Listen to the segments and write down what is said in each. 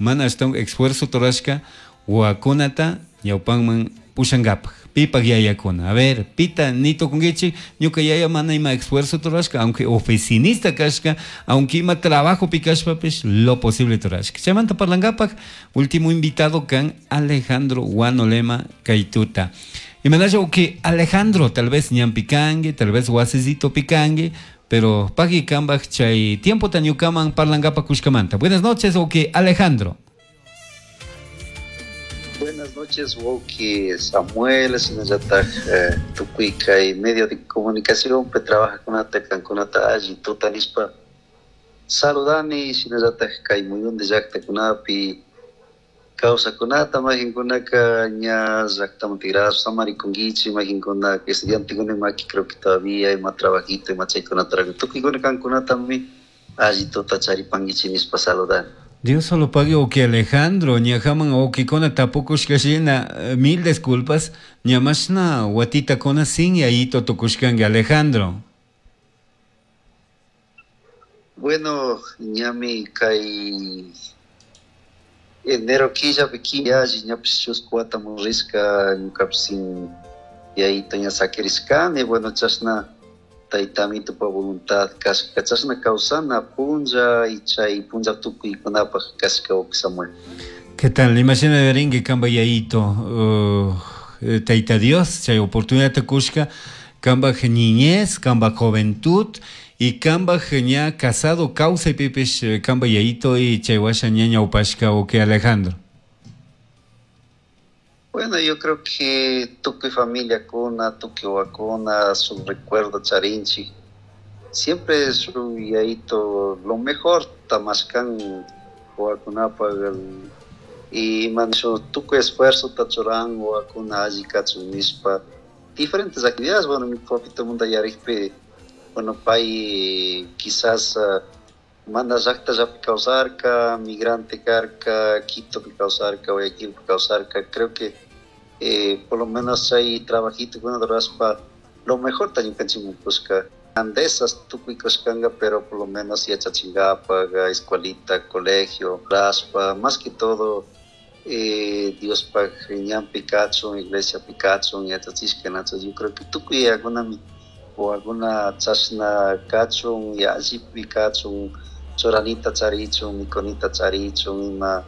Mana ashtawan esfuerzo rurashka wawakunata ñawpanman pushankapak. Pipak yayakuna. A ver, pita ni tukunkichik, ñuka yaya mana ima esfuerzo rurashka, aunque oficinista kashka, aunque ima trabajo kashpapish, lo posible rurashka. Chaymanta parlankapak, último invitado kan Alejandro Guanolema kay tuta. Imanasha que Alejandro, tal vez ñanpi kanki, tal vez wasisito pikanki, pero pagui kambaj chay tiempo ñukaman parlankapak kushkamanta. Buenas noches, ok, Alejandro. Buenas noches, wawki Samuel, shinallatak tukuy kay medio de comunicación pe trabajajkunata kankunata alli tuta nishpa saludani, shinallatak kay muyundi llaktakunapi kawsakunata, mayqinkunaka ña llaktaman tigrashpa samarikunkichik, mayqinkuna estudiantekuna maki creo que todavía ima trabajito ima chaykunata tukuykuna kankunatami alli tuta charipankichik nishpa saludani. Dios solo pague o que Alejandro, ñajaman o que kona tapukushkashina, mil disculpas, ñamashna watita kona sin yayito tukushkanki, Alejandro. Bueno, ñami kay enero killapi alli ñapish chusku watamun rishka ñukapish sin yayito ña sakirishkani. Bueno, chashna tayta amitupa voluntad kashka chashna kawsana punlla y chay punlla tukuykunapaj kashka, Samuel. ¿Qué tal? Imashina rinki kamba yayito, Tayta Dios, chay oportunidad kushka, kamba niñez, kamba juventud y kamba ña casado kawsaypipish kamba yayito y chay washa ña ñawpashka, ok, Alejandro. Bueno, yo creo que tukuy familiakuna, tukuy wawakuna, su recuerdo charinchik. Siempre su yayito lo mejor mashkan wawakunapaj y ima tukuy esfuerzo churan wawakuna alli kachun nishpa diferentes actividades. Bueno, mi papito munda yarikpi, bueno, pay quizás mana llaktallapi kawsarka, migrante karka, Quitopi kawsarka, Guayaquilpi kawsarka. Creo que por lo menos hay trabajito rurashpa lo mejor ñukanchikman kushka. Andesas tukuy kushkanka, pero por lo menos yachachinkapak, escuelita, colegio, rashpa, más que todo Diospaj ñanpi kachun, iglesiapi kachun yachachishka. Entonces yo creo que tukuy yakunami wawakuna chashna kachun, allipi kachun, churanita charichun, mikunita charichun, ima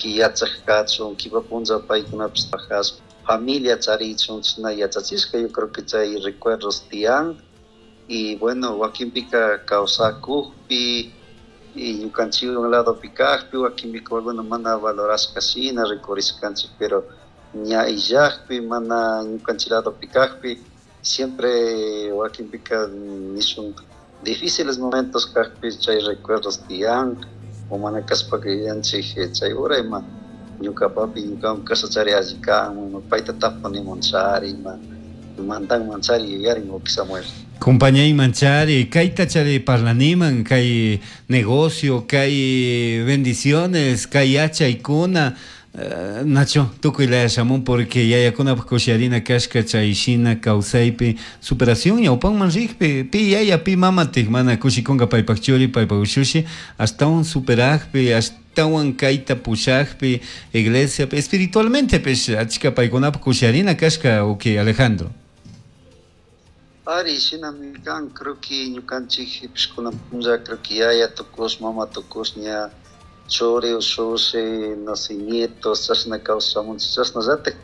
yachak kachun, kipa punlla paykunapish trabajashpa familia charichun, chashna yachachishka. Yo creo que chay recuerdos tiyan. Y bueno, wakinpika kawsakukpi y ñukanchik ladopi kakpi wakinpika, bueno, mana valorashka shina rikurishkanchik, pero ña illakpi, mana ñukanchik ladopi kakpi, siempre wakinpika nishun difíciles momentos kakpi chay recuerdos tiyan, o mana kashpaka yuyanchik chay hora ima ñuka papi ñukawan kashachari alli kan, payta tapunimanchari, ima mandanmanchari yuyarin, Samuel. Compañaymanchari, kayta chari parlaniman, kay negocio, kay bendiciones, kay yachaykuna, Nacho, tukuy laya shamun porque yayakunapaj kushiarina kashka chay shina kawsaypi superación ñawpanman rikpi. Pi yaya, pi mamatik mana kushikunka paypak churi, paypak ushushi ashtawan superakpi, ashtawan kayta pushakpi iglesiapi, espiritualmente pish achka paykunapaj kushiarina kashka, ok, Alejandro. Ari, shinami kan. Creo que ñukanchik kunan punlla, creo que yaya tukush, mama tukush, ña churi, ushushi, no sé, nietos, chashna kawsamunchik, chashnallatak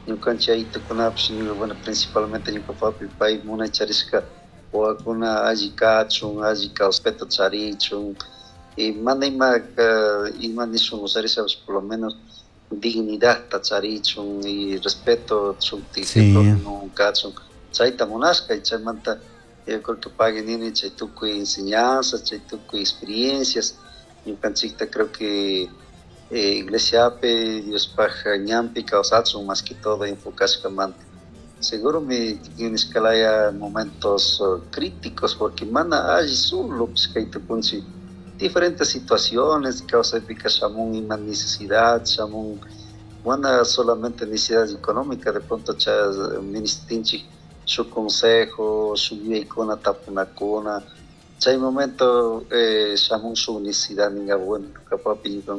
ñukanchik yayitukunapish, bueno, principalmente ñuka papi, pay munay charishka wawakuna alli kachun, alli respeto charichun y mana ima ima nishun usharishapish por lo menos dignidadta charichun y respeto shuktik kachun, chayta munashka. Y chaymanta yo creo que pagui nini chay tukuy enseñanzas, chay tukuy experiencias ñukanchikta creo que iglesiapi, Diospaj ñanpi kawsachun más que todo enfocashkamanta. Seguro mi nishkalaya momentos críticos porque mana alli solo kay tukunchik diferentes situaciones kawsaypika shamun ima necesidad shamun, mana solamente necesidad económica, de pronto cha ministinchik shuk consejo, shuk yuyaykuna tapunakuna. Chay momento shamun shuk necesidad ninga, bueno, ñuka papi ñuka